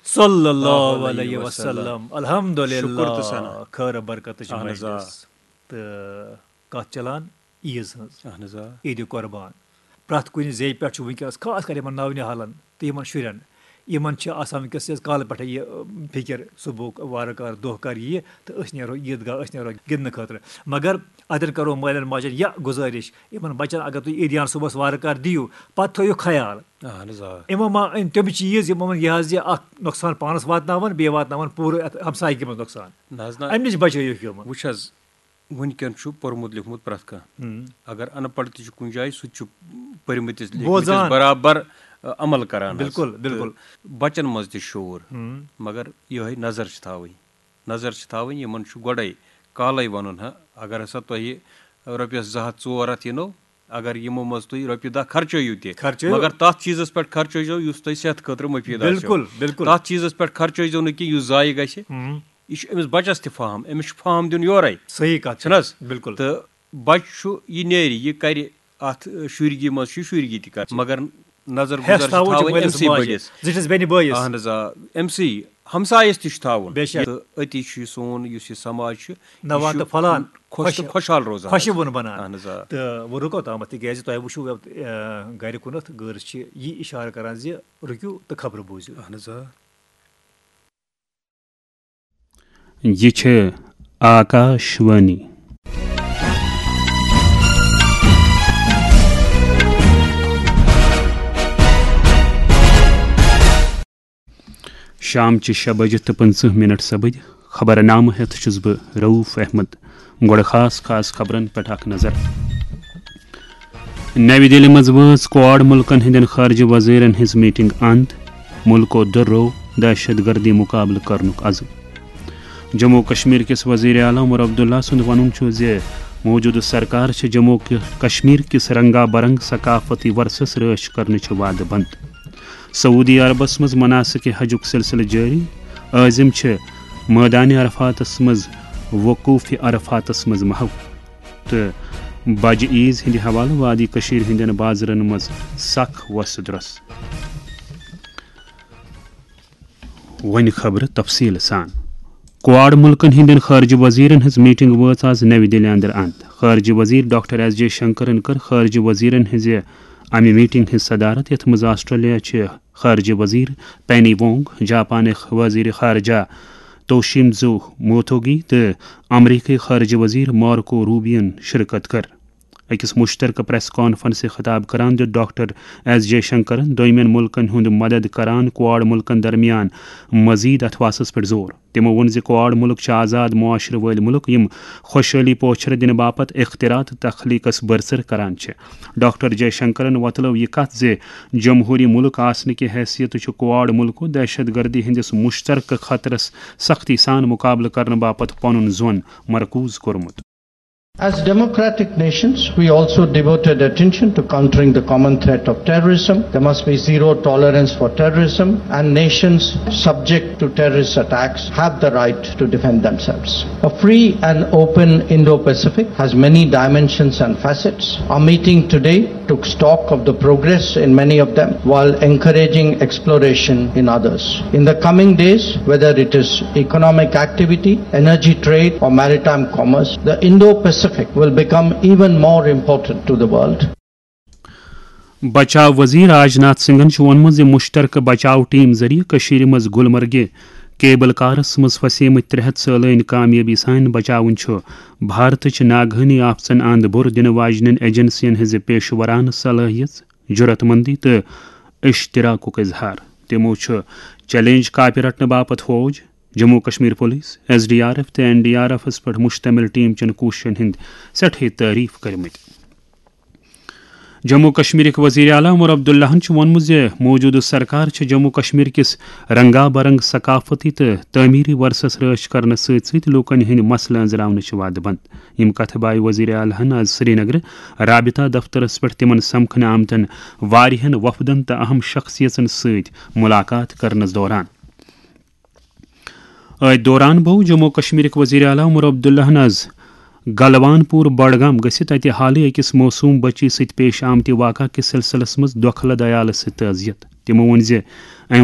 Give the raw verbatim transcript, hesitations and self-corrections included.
صلی اللہ علیہ وسلم۔ الحمدللہ۔ شکر تہٕ ثنا۔ خٲر برکتٕچ اہن حظ آ۔ مجلس۔ تہٕ کتھ چلان عیٖز ہٕنٛز۔ اہن حظ آ۔ عیٖدِ قربان۔ پرٛٮ۪تھ کُنہِ زیٚیہِ پٮ۪ٹھ چھُ وٕنکیٚنس خاص کر یِمن نونِہالن تہٕ یِمن شُرٮ۪ن۔ یِمن چھِ آسان وٕنکیٚس یہِ کالہٕ پٮ۪ٹھے یہِ، اَم، فِکر، صُبحُک وارٕ کار دۄہ کر یِیہِ تہٕ أسۍ نیرو عیٖد گاہ، أسۍ نیرو گِنٛدنہٕ خٲطرٕ۔ مگر اتٮ۪ن کرو مٲلٮ۪ن ماجٮ۪ن یہِ گُزٲرِش، یِمن بچن اگر تُہۍ عیٖدیان صُبحس وارٕ کار دِیِو، پتہٕ تھٲیِو خیال۔ اہن حظ آ۔ یِمو ما أنۍ تِم چیٖز، یِمو ووٚن یہِ حظ یہِ اکھ نۄقصان پانس واتناوان، بیٚیہِ واتناوان پوٗرٕ اتھ ہمسایگی منٛز نۄقصان۔ نہ حظ نہ۔ امہِ نِش بچٲیِو یِمن۔ وٕچھ حظ، وٕنکیٚن چھُ پوٚرمُت لیوٚکھمُت پرٛٮ۪تھ کانٛہہ۔ ہُم۔ اگر اَن پَڑھ تہِ چھُ کُنہِ جایہِ، سُہ تہِ چھُ پٔرمٕتِس لیکھمٕتِس بوزان۔ برابر، ٲ، عمل کران حظ۔ بِلکُل، تہٕ بِلکُل۔ بَچَن منٛز تہِ شعوٗر۔ ہُم۔ مگر یِہوٚے نظر چھِ تھاوٕنۍ۔ نظر چھِ تھاوٕنۍ، یِمَن چھُ گۄڈَے کالَے وَنُن، ہا، اگر ہسا تۄہہِ رۄپیَس زٕ ہَتھ ژور ہَتھ یِنو، اگر یِمو منٛز تُہۍ رۄپیہِ دَہ خرچٲیِو تہِ، خرچٲیِو۔ مگر تَتھ چیٖزَس پٮ۪ٹھ خرچٲیزیو یُس تۄہہِ صحتہٕ خٲطرٕ مُفیٖد آسیو۔ بِلکُل، بِلکُل۔ تَتھ چیٖزَس پٮ۪ٹھ خرچٲیزیو نہٕ کینٛہہ یُس ضایع گژھِ۔ ہُم۔ یہِ چھُ أمِس بَچَس تہِ فاہم، أمِس چھُ فاہم دیُن یورَے۔ صحیح کَتھ چھِ۔ چھُنہٕ حظ؟ بِلکُل۔ تہٕ بَچہٕ چھُ، یہِ نیرِ، یہِ کَرِ اَتھ، ٲ، شُرگی منٛز چھُ یہِ شُرگی تہِ کَرِ۔ مگر نظر ہٮ۪س گُزر چھِ تھاوُن چھِ تھاوٕنۍ مٲلِس أمسٕے ماجہِ، بٔڑِس۔ زِٹھِس بیٚنہِ بٲیِس۔ اَہَن حظ آ، أمسٕے ہمسایَس تہِ چھُ تھاوُن۔ بے شک۔ تہٕ أتی چھُ یہِ سون یُس یہِ سماج چھُ، یہِ نوان چھُ تہٕ پھۄلان، خۄش تہٕ خۄش-، خۄشحال روزان۔ خۄشہِ وُن بَنان۔ اَہَن حظ آ۔ تہٕ وۄنۍ رُکو تامَتھ، تِکیٛازِ تۄہہِ وٕچھِو، یَتھ، آ، گَرِ کُنَتھ گٲرِس چھِ یہِ اِشارٕ کَران زِ رُکِو تہٕ خبرٕ بوٗزِو۔ اَہَن حظ آ۔ یہِ چھِ آکاشوانی۔ شامچہِ شےٚ بجہِ تہٕ پٕنٛژٕہ مِنٹ سپٕدۍ۔ خبرنامہٕ ہٮ۪تھ چھُس بہٕ رؤف احمد۔ گۄڈٕ خاص خاص خبرن پٮ۪ٹھ اکھ نظر۔ نَوِ دِلہِ منٛز وٲژ کواڈ مُلکن ہٕنٛدٮ۪ن خارجہ وزیرن ہٕنٛز میٹنگ اند۔ مُلکو دۄہرو دہشت گردی مقابلہٕ کرنُک عزم۔ جموں و کشمیر کِس وزیر اعلیٰ عمر عبداللہ سُنٛد وَنُن چھُ زِ موجودٕ سرکار چھِ جموں و کشمیر کِس رنگا برنگ ثقافتی ورثس رٲچھ کرنٕچ وعدٕ بنٛد۔ سعودی عربس منٛز مناسک حجُک سلسلہٕ جٲری۔ عازم چھِ مٲدانِ عرفاتس منٛز وقوفِ عرفاتس منٛز محو۔ تہٕ بجہِ عیز ہٕنٛدِ حوالہٕ وادی کٔشیٖرِ ہٕنٛدٮ۪ن بازرن منٛز سخ وۄسہٕ درۄس۔ وۄنۍ خبرٕ تفصیٖل سان۔ کواڈ مُلکن ہٕنٛدٮ۪ن خارجہ وزیرن ہٕنٛز میٹنگ وٲژ آز نَوِ دِلہِ اندر اند۔ خارجہ وزیر ڈاکٹر ایس جے شنکرن کٔر خارجہ وزیرن ہٕنٛزِ امہِ میٹنگ ہٕنٛز صدارت، یتھ منٛز آسٹریلیا چہِ خارجہ وزیر پینی وونگ، جاپانٕکۍ وزیر خارجہ توشیمزو موتوگی تہٕ امریکی خارجہ وزیر مارکو روبیون شرکت کٔر۔ أکِس مشترکہ پریس کانفرنسہِ خطاب کران دیُت ڈاکٹر ایس جے شنکرن دوٚیمٮ۪ن مُلکن ہُنٛد مدد کران کواڈ مُلکن درمیان مزید اتھواسس پٮ۪ٹھ زور۔ تِمو ووٚن زِ کواڈ مُلک چھِ آزاد معاشرٕ وٲلۍ مُلک، یِم خۄشحٲلی پوچھر دِنہٕ باپتھ اختراع تہٕ تخلیقس برسر کران چھِ۔ ڈاکٹر جے شنکرن وۄتلٲو یہِ کتھ زِ جمہوٗری مُلک آسنہٕ کہِ حیثیتہٕ چھُ کواڈ مُلکو دہشت گردی ہٕنٛدِس مشترکہ خطرس سختی سان مقابلہٕ کرنہٕ باپتھ پنُن زون مرکوز کوٚرمُت۔ As democratic nations, we also devoted attention to countering the common threat of terrorism. There must be zero tolerance for terrorism, and nations subject to terrorist attacks have the right to defend themselves. A free and open Indo-Pacific has many dimensions and facets. Our meeting today took stock of the progress in many of them while encouraging exploration in others. In the coming days, whether it is economic activity, energy trade, or maritime commerce, the Indo-Pacific will become even more important to the world. بچاو وزیر راجناتھ سنگھن چھُ ووٚنمُت زِ مشترکہٕ بچاو team ذٔریعہٕ کٔشیٖرِ منٛز گلمرگہِ کیبل کارس منٛز پھسیمٕتۍ ترٛےٚ ہتھ سٲلٲنۍ کامیٲبی سان بچاوُن چھُ بھارتٕچ ناگہٲنی آفژن اند بُر دِنہٕ واجنٮ۪ن ایجنسین ہٕنٛزِ پیشہٕ ورانہٕ صلٲحیژ، جرات مندی تہٕ اشتراکُک اظہار۔ تِمو چھُ چیلنج کاپہِ رٹنہٕ باپتھ فوج، Jammu Kashmir police, S D R F تہٕ این ڈی آر ایفس پٮ۪ٹھ مشتمل ٹیم چٮ۪ن کوٗششن ہٕنٛدۍ سٮ۪ٹھے تعریف کٔرمٕتۍ۔ جموں کشمیرٕکۍ وزیر اعلیٰ عمر عبداللہن چھُ ووٚنمُت زِ موجودٕ سرکار چھِ جموں کشمیر کِس رنگا برنگ ثقافتی تہٕ تعمیری ورثس رٲچھ کرنس سۭتۍ سۭتۍ لوٗکن ہٕنٛدۍ مسلہٕ أنٛزراونٕچ وعدٕ بنٛد۔ یِم کتھٕ بایہِ وزیر اعلیٰ ہن آز سرینگرٕ رابطہ دفترس پٮ۪ٹھ تِمن سمکھنہٕ آمتن واریاہن وفدن تہٕ اہم شخصیژن سۭتۍ ملاقات کرنس دوران۔ أتھۍ دوران بوو جموں و کشمیرٕکۍ وزیر اعلیٰ عمر عبداللہن آز گلوان پور بڈگام گٔژھِتھ اتہِ حالٕے أکِس معصوم بچی سۭتۍ پیش آمتہِ واقعہ کِس سلسلس منٛز دۄکھٕ لد عیالس سۭتۍ تعزیت۔ تِمو ووٚن زِ امہِ